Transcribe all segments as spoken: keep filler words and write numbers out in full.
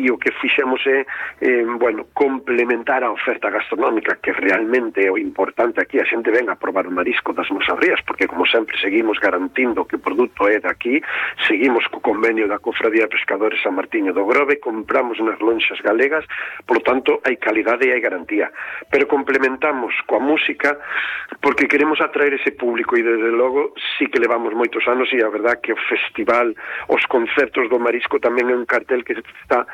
e o que fixemos é eh, bueno, complementar a oferta gastronómica, que realmente é o importante aquí. A xente ven a probar o marisco das nosas rías, porque como sempre seguimos garantindo que o produto é daqui, seguimos co convenio da Cofradía de Pescadores San Martiño do Grove, compramos nas lonxas galegas, por lo tanto hai calidade e hai garantía, pero complementamos coa música porque queremos atraer ese público, e desde logo sí que levamos moitos anos, e a verdad que o festival, os concertos do marisco tamén é un cartel que está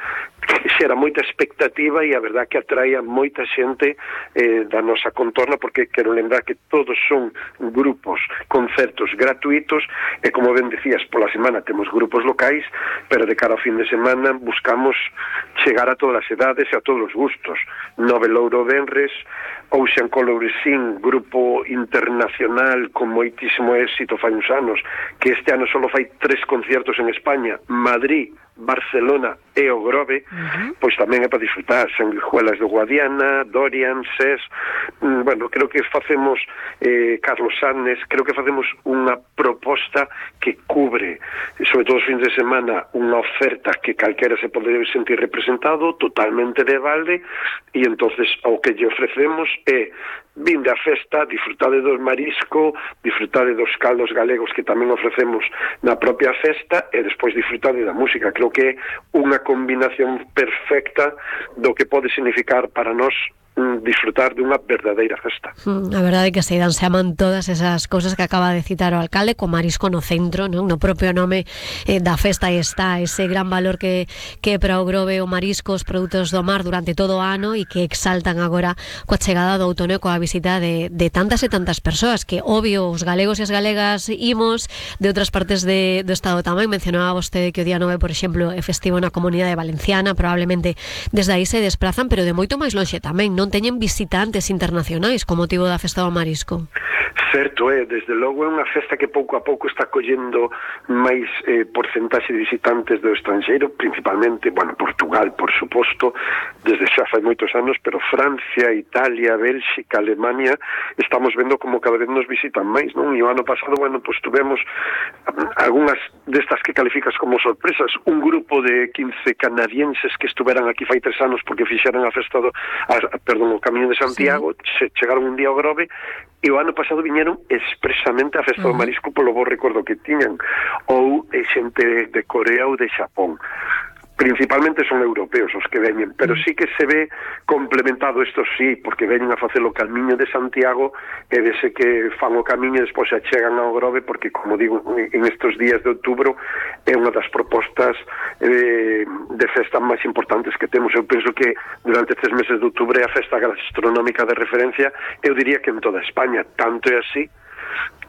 que xera moita expectativa, e a verdad que atrae a moita xente eh, da nosa contorna, porque quero lembrar que todos son grupos, concertos gratuitos, e como ben decías, pola semana temos grupos locais, pero de cara ao fin de semana buscamos chegar a todas as edades e a todos os gustos. Nove Louro Benres, Ocean Coloring, grupo internacional con moitísimo éxito fai uns anos, que este ano só fai tres conciertos en España, Madrid, Barcelona e o Grove, uh-huh. Pois tamén é para disfrutar. Sanguijuelas do Guadiana, Dorian, Ses, mm, bueno, creo que facemos eh, Carlos Sáenz, creo que facemos unha proposta que cubre, sobre todo os fins de semana, unha oferta que calquera se pode sentir representado, totalmente de balde, e entonces o que lle ofrecemos é vinde a festa, disfrutade do marisco, disfrutade dos caldos galegos que tamén ofrecemos na propia festa, e despois disfrutade da música. Creo que é unha combinación perfecta do que pode significar para nós disfrutar dunha verdadeira festa. Mm, a verdade é que se dan se aman todas esas cousas que acaba de citar o alcalde, co marisco no centro, non? No propio nome eh, da festa está ese gran valor que, que para o Grove o marisco, os produtos do mar durante todo o ano, e que exaltan agora coa chegada do outono e coa visita de, de tantas e tantas persoas, que obvio os galegos e as galegas imos de outras partes de, do estado tamén. Mencionaba vostede que o día nove, por exemplo, é festivo na Comunidade Valenciana, probablemente desde aí se desplazan, pero de moito máis lonxe tamén, non? Non teñen visitantes internacionais con motivo da festa do marisco. Certo, é, desde logo é unha festa que pouco a pouco está collendo máis eh, porcentaxe de visitantes do estranxeiro, principalmente, bueno, Portugal, por suposto, desde xa fai moitos anos, pero Francia, Italia, Bélxica, Alemania, estamos vendo como cada vez nos visitan máis, non? E o ano pasado, bueno, pues tuvemos algunhas destas que calificas como sorpresas, un grupo de quince canadienses que estuveran aquí fai tres anos porque fixeran a festa do, a, perdón, o Camiño de Santiago, sí. Se chegaron un día ao Grove, e o ano pasado viñeron expresamente a festa uh-huh. do marisco polo bo recordo que tiñan, ou xente de Corea ou de Xapón. Principalmente son europeos os que veñen, pero sí que se ve complementado isto, sí, porque veñen a facer o Camiño de Santiago, e dese que fan o camiño e despois se chegan ao Grove, porque, como digo, en estes días de outubro é unha das propostas eh, de festa máis importantes que temos. Eu penso que durante estes meses de outubro é a festa gastronómica de referencia, eu diría que en toda España, tanto é así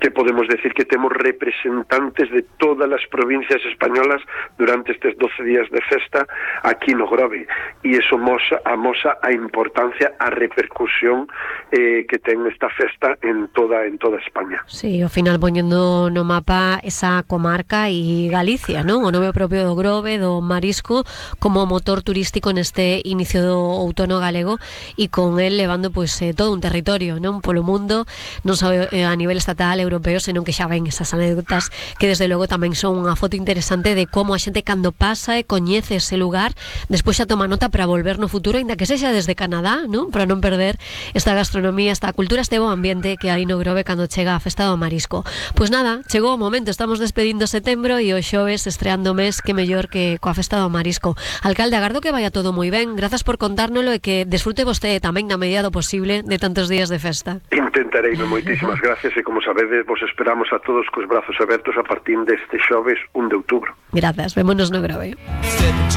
que podemos decir que temos representantes de todas as provincias españolas durante estes doce días de festa aquí no Grove, e iso mosa, amosa a importancia, a repercusión eh, que ten esta festa en toda en toda España. Sí, ao final poñendo no mapa esa comarca e Galicia, non? O nome propio do Grove, do marisco, como motor turístico neste inicio do outono galego, e con el levando pois pues, eh, todo un territorio, non? Polo mundo, non só eh, a nivel estatal, europeo, senón que xa ven esas anécdotas que desde logo tamén son unha foto interesante de como a xente cando pasa e coñece ese lugar, despois xa toma nota para volver no futuro, ainda que sexa desde Canadá, non? Para non perder esta gastronomía, esta cultura, este bo ambiente que hai no Grove cando chega a festa do marisco. Pois nada, chegou o momento, estamos despedindo setembro e o xoves estreando o mes, que mellor que coa festa do marisco. Alcalde, agardo que vaya todo moi ben, grazas por contárnolo e que desfrute vostede tamén na medida do posible de tantos días de festa. Intentarei, moitísimas gracias, e como sabedes, vos esperamos a todos cos brazos abertos a partir deste xoves un de outubro. Grazas, vémonos no Grove.